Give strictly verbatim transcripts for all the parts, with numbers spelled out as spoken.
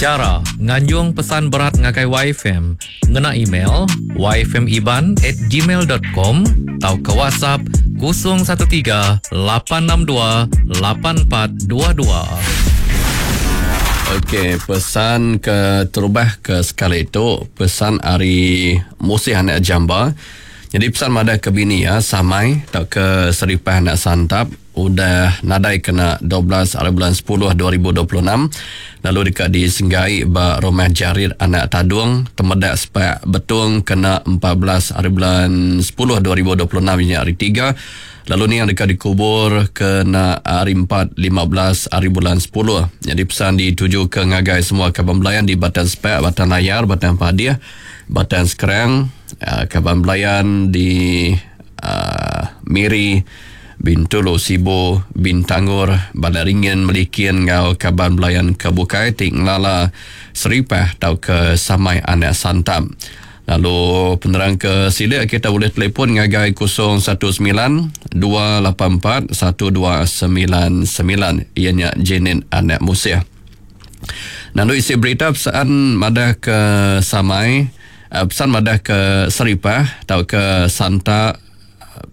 Chara nganjung pesan berat ngagai Y F M ngena email yfmiban at gmail dot com tauka WhatsApp kosong satu tiga, lapan enam dua, lapan empat dua dua. Okey, pesan ke terubah ke sekali itu pesan ari Musih anak Jamba. Jadi pesan madah ke bini ya Samai tau ke Seripah anak Santap udah nadai kena dua belas hari bulan sepuluh dua ribu dua puluh enam, lalu dekat di Senggai ba Rumah Jarit anak Tadung, Temedak Sepak Betung kena empat belas hari bulan sepuluh dua ribu dua puluh enam, ini hari tiga, lalu ni yang dekat dikubur kena hari empat, lima belas hari bulan sepuluh. Jadi pesan dituju ke ngagai semua kaban belayan di Batang Sepak, Batang Layar, Batang Padiah, Batang Sekerang, uh, kaban belayan di uh, Miri, Bintulu, Sibu, Bintangor, Balai Ringin, Melikin ngau kaban belayan ke bukai ti ngelala Seripah tau ke Samai anak Santam. Lalu penerang ke silik kita boleh telefon ngagai kosong satu semilan, dua lapan empat, satu dua semilan semilan, ianya Jenin anak Musih. Lalu isi berita pesan madah ke Samai, eh, pesan madah ke Seripah tau ke Santa,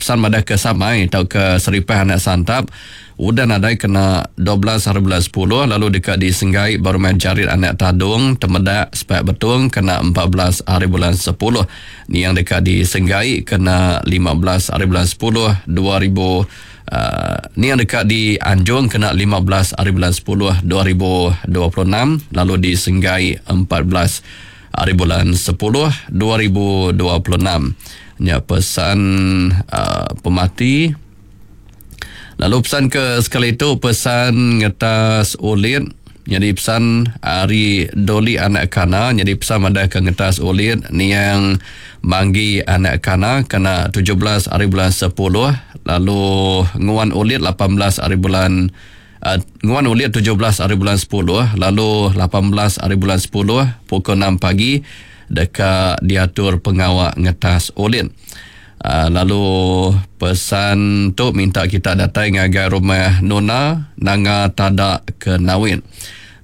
pesan madah ke Samai tau ke Seripah anak Santap udah nadai kena dua belas hari bulan sepuluh, lalu dekat di Senggai baru main Jarit anak Tadung, Temedak Sepak Betung kena empat belas hari bulan sepuluh. Ni yang dekat di Senggai kena lima belas hari bulan sepuluh dua ribu, Uh, ni yang dekat di Anjung kena lima belas hari bulan sepuluh dua ribu dua puluh enam, lalu di Senggai empat belas hari bulan sepuluh dua ribu dua puluh enam. Nya pesan uh, pemati. Lalu pesan ke sekali itu pesan ngetas ulit. Jadi pesan hari Doli anak Kana. Jadi pesan madah ke ngetas ulit niang Manggi anak Kana kena tujuh belas hari bulan sepuluh, lalu nguan ulit lapan belas hari bulan, uh, nguan ulit tujuh belas hari bulan sepuluh, lalu lapan belas hari bulan sepuluh pukul enam pagi dekat diatur pengawak ngetas ulit. Uh, lalu pesan tu minta kita datang ngagai rumah Nona Nanga Tada ke Nawin.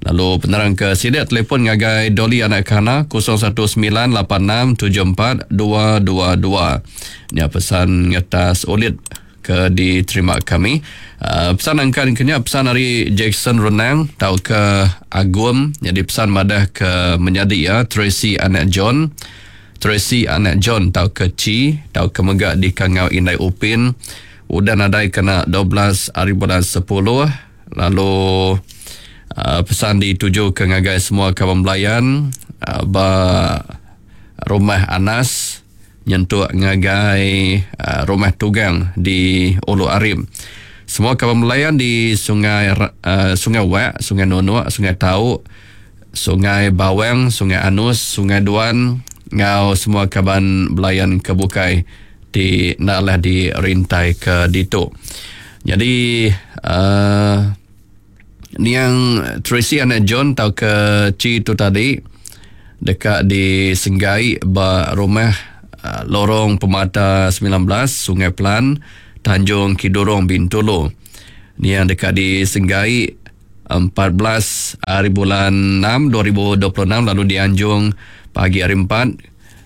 Lalu penerang ke sidik telefon ngagai Doli anak Kana kosong satu semilan, lapan enam tujuh empat, dua dua dua. Ni pesan ngetas ulit ke diterima kami. Uh, pesan angkan kenya pesan dari Jackson Renang tau ke Agum. Jadi pesan madah ke menyadi ya Tracy anak John. Tracy anak John tau ke Chi tau ke megak di Kangau Indai Upin udah nadai kena dua belas hari bulan sepuluh, lalu uh, pesan dituju ke ngagai semua kawan belayan uh, ba rumah Anas nyentuk ngagai uh, rumah Tugang di Ulu Arim. Semua kawan belayan di Sungai uh, Sungai Wak, Sungai Nunuk, Sungai Tau, Sungai Bawang, Sungai Anus, Sungai Duan ngau semua kaban belayan kebukai di naklah di rintai ke ditu. Jadi uh, ni yang Tracy anak John tau ke Chi tu tadi dekat di Senggai ba rumah uh, Lorong Pemata sembilan belas, Sungai Pelan, Tanjung Kidurong, Bintulu. Ni yang dekat di Senggai empat belas hari bulan enam dua ribu dua puluh enam, lalu dianjung pagi hari empat,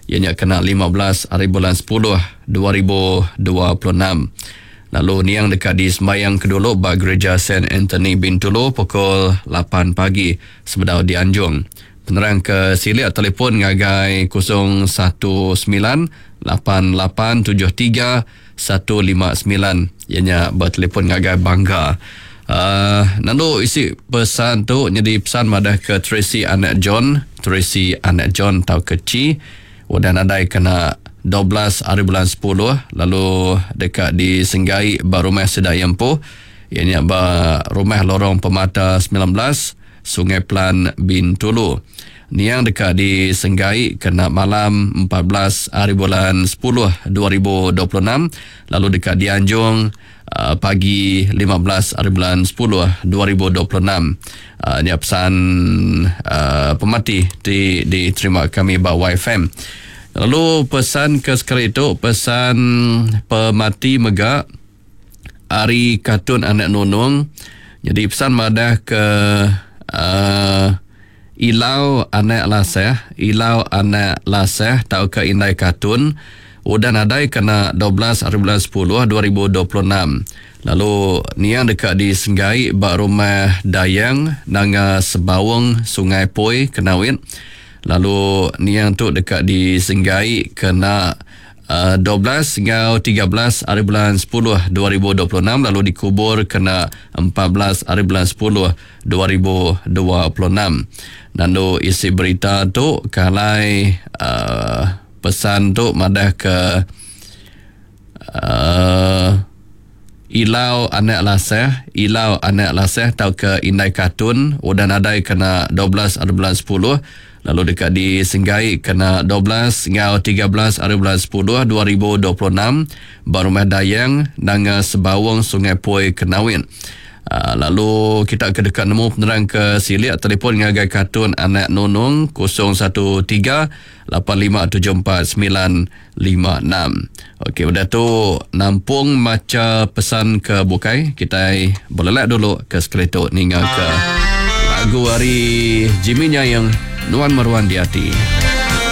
ianya kena lima belas hari bulan sepuluh dua ribu dua puluh enam. Lalu niang dekat di sembayang kedulu ba Gereja Saint Anthony Bintulu pukul lapan pagi sebedau dianjung. Penerang ke silik telefon ngagai kosong satu semilan, lapan lapan tujuh tiga, satu lima semilan, ianya bertelefon ngagai Bangga. Uh, lalu isi pesan tu jadi pesan madah ke Tracy anak John, Tracy anak John tau ke Chi udah nadai kena dua belas hari bulan sepuluh, lalu dekat di Senggai ba rumah Sedayang Empu, ianya ba rumah Lorong Pemata sembilan belas, Sungai Pelan, Bintulu. Niang dekat di Senggai kena malam empat belas hari bulan sepuluh dua ribu dua puluh enam, lalu dekat di Anjung uh, pagi lima belas hari bulan sepuluh dua ribu dua puluh enam. Uh, ini pesan uh, pemati di diterima kami ba Y F M. Lalu pesan ke sekali itu pesan pemati mega ari Katun anak Nunung. Jadi pesan madah ke uh, Ilau anak Laseh, Ilau anak Laseh tauka Indai Katun udah nadai kena dua belas hari bulan sepuluh dua ribu dua puluh enam. Lalu niang deka disenggai ba rumah Dayang Nanga Sebaung Sungai Poi Kenawit. Lalu niang tu deka disenggai kena uh, dua belas hingga tiga belas hari bulan sepuluh dua ribu dua puluh enam lalu dikubur kena empat belas hari bulan sepuluh dua ribu dua puluh enam. Lalu isi berita tu kalai uh, pesan tu madah ke uh, Ilau anak Laseh, Ilau anak Laseh tauka Indai Katun udah nadai kena dua belas hari bulan sepuluh lalu dekat disenggai kena dua belas hingga tiga belas hari bulan sepuluh dua ribu dua puluh enam ba rumah Dayang Nanga Sebaung Sungai Poi Kenawit. Uh, lalu kita ke dekat nemu penerang ke silik telefon ngagai Katun anak Nunung kosong satu tiga lapan lima tujuh empat sembilan lima enam. Okey, udah tu nampung maca pesan ke bukai, kita boleh dulu ke sekali tu ninga ke lagu hari Jimmy Nyayang Nuan Meruan Di Hati.